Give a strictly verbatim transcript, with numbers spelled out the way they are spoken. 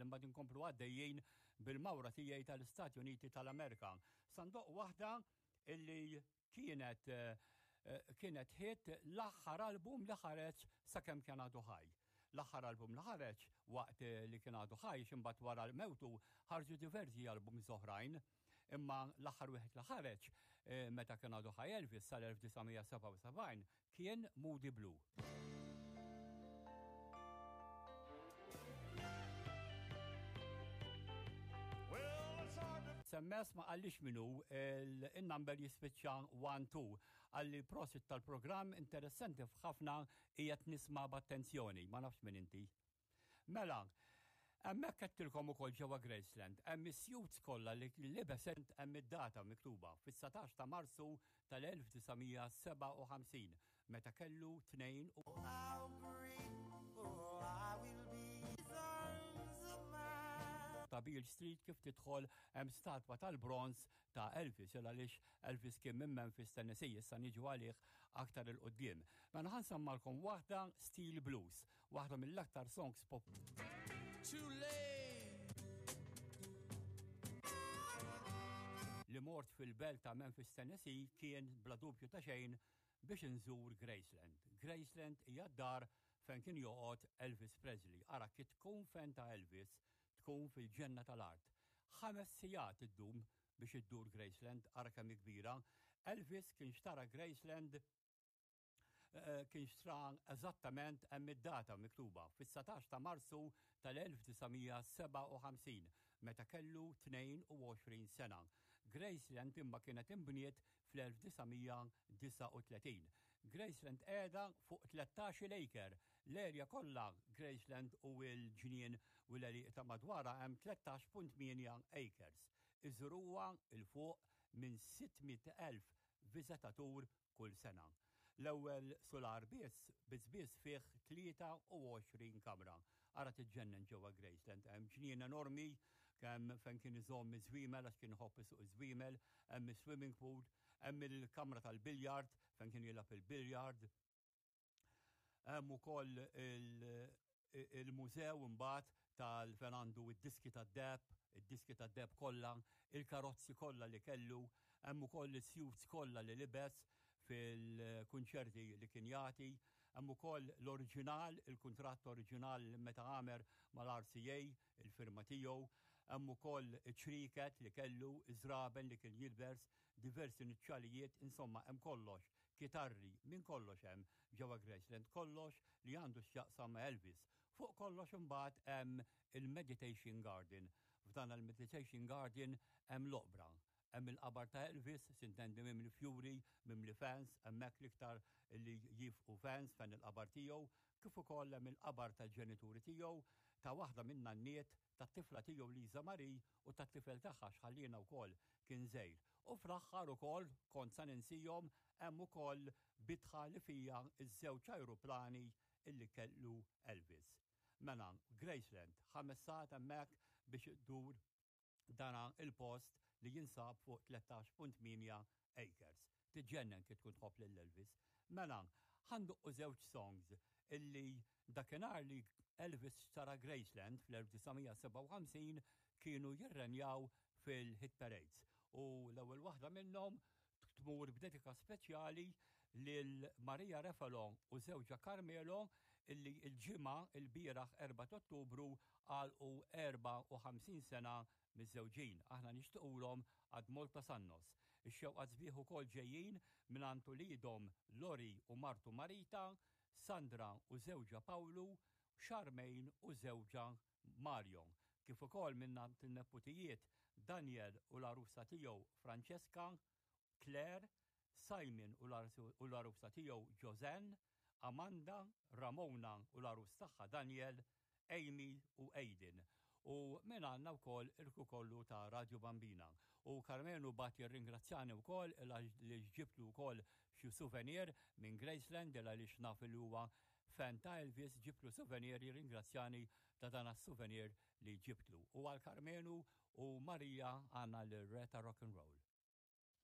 ħalli mbagħad inkomplu għaddejjin bil-mawra tiegħi tal-Istati Uniti tal-Amerika. Sa ndoqq waħda illi kienet eh, eh, kienet hit, l-aħħar album li ħareġ sakemm kien għadu ħaj. L-aħħar album li ħareġ waqt li kien għadu ħaj, imbagħad wara l-mewtu ħarġu diversi albums oħrajn. Imma l-aħħar wieħed li ħareġ eh, meta kien għadu ħaj Elvis sal-elf disa' mija sebgħa u sebgħin kien Moody Blue. Well, it's hard to S M S ma qallix minnu, il-number jispiċċa wieħed tnejn. Qalli prosit tal-programm, interessanti ħafna, qiegħed nisma' b'attenzjoni, ma nafx min inti. Mela, hemmhekk għedtilkom ukoll ġewwa Graceland, hemm is-suits kollha li libes, hemm id-data miktuba fis-satax ta' Marzu tal-elf disa' mija sebgħa u ħamsin meta kellu tnejn u How grateful I will be. These arms of mine. Ta' Beale Street, kif tidħol hemm statwa tal-bronz ta' Elvis, il għaliex Elvis kien minn Memphis, Tennessee, issa niġu għalih aktar 'il quddiem. Mela ħa nsemmalkom waħda Steel Blues, waħda mill-aktar songs pop Too late. Li mort fil-belt ta' Memphis, Tennessee kien bla dubju ta' xejn biex nżur Graceland. Graceland hija d-dar fejn kien joqgħod Elvis Presley. Ara kif tkun fan ta' Elvis, tkun fil-ġenna tal-art. Ħames sigħat iddum biex iddur Graceland, ara kemm hi kbira. Elvis kien xtara Graceland, eh, kien xtra eżattament, hemm id-data miktuba fis-satax ta' Marzu tal-elf disa' mija sebgħa u ħamsin meta kellu tnejn u għoxrin sena. Graceland imma kienet imbniet fl-elf disa' mija disgħa u tletin. Graceland qiegħda fuq tlettax-il acre. L-erja kollha Graceland u l-ġnien u l-għelieqi ta' madwarha hemm tlettax punt tmienja acres. Iżuruha 'l fuq minn sitt mitt elf viżitatur kull sena. L-ewwel solar biss biss biss fih tlieta u għoxrin kamra. Ara tiġġennen ġewwa Graceland, hemm ġnien enormi kemm fejn kien iżomm iż-żwiemel għax kien iħobb isuq iż-żwiemel, hemm is-swimming pool, hemm il-kamra tal-biljard fejn kien jilgħab il-biljard. Hemm ukoll il-mużew imbagħad tal fejn għandu id-diski tad-deheb, id-diski tad-deheb kollha, il-karozzi kollha li kellu, hemm ukoll is-suits kollha li libes fil-kunċerti li kien jagħti, hemm ukoll l-oriġinal, il-kuntratt oriġinal meta għamel mal-R C A, il-firma tiegħu, hemm ukoll ċriket li kellu, iż-żraben li kien jilbes, diversi nuċċalijiet, insomma hemm kollox, kitarri, minn kollox hemm ġewwa Graceland, kollox li għandu x'jaqsam ma' Elvis. Fuq kollox imbagħad hemm il-Meditation Garden. F'dan il-Meditation Garden hemm l-oqbra. Hemm il-qabar ta' Elvis, sintendi mimli fjuri, mimli fans, hemmhekk l-iktar li jifqu fans fejn il-qabar tiegħu, kif ukoll hemm il-qabar tal-ġenituri tiegħu, ta' waħda min-nanniet, tat-tifla tiegħu Lisa Marie u tat-tifel tagħha x'ħalliena wkoll kien żgħir. U fl-aħħar ukoll, kont sa ninsihom, hemm ukoll bitħa li fija iż-żewġ ajruplani illi kellu Elvis. Mela, Graceland, ħames sigħat hemmhekk biex iddur dana il-post li jinsab fuq tlettax punt tmienja acres. Tiġġennen kif tkun tħobb lil Elvis. Mela, ħa ndoqqu żewġ songs illi dakinhar li Elvis xtara Graceland fl-elf disa' mija sebgħa u ħamsin kienu jirrenjaw fil-hit parades. U l-ewwel waħda minnhom tmur b'dedika speċjali lil Maria Refalo u żewġha Carmelo illi il-ġimgħa il-bieraħ erbgħa Ottubru għalqu erbgħa u ħamsin sena miżżewġin. Aħna nixtiequlhom ad moltos annos. Ix-xewqat sbieħ ukoll ġejjin minn uliedhom Lori u martu Marita, Sandra u żewġha Pawlu, Charmaine u żewġha Mario. Kif ukoll minn il-neputijiet Daniel u l-arusa tiegħu Francesca, Claire, Simon u l-arusa tiegħu Josanne, Amanda, Ramona u l-arus tagħha Daniel, Amy u Aiden. U minn għandna wkoll il-crew kollu ta' Radio Bambina. U Carmenu bagħat jirringrazzjani wkoll li ġibtlu wkoll xi souvenir minn Graceland, għaliex naf li huwa fan ta' Elvis, ġibtlu souvenir, jirringrazzjani ta' dan souvenir li ġibtlu. U għal Carmenu u Maria għandna l-Reta Rock and Roll.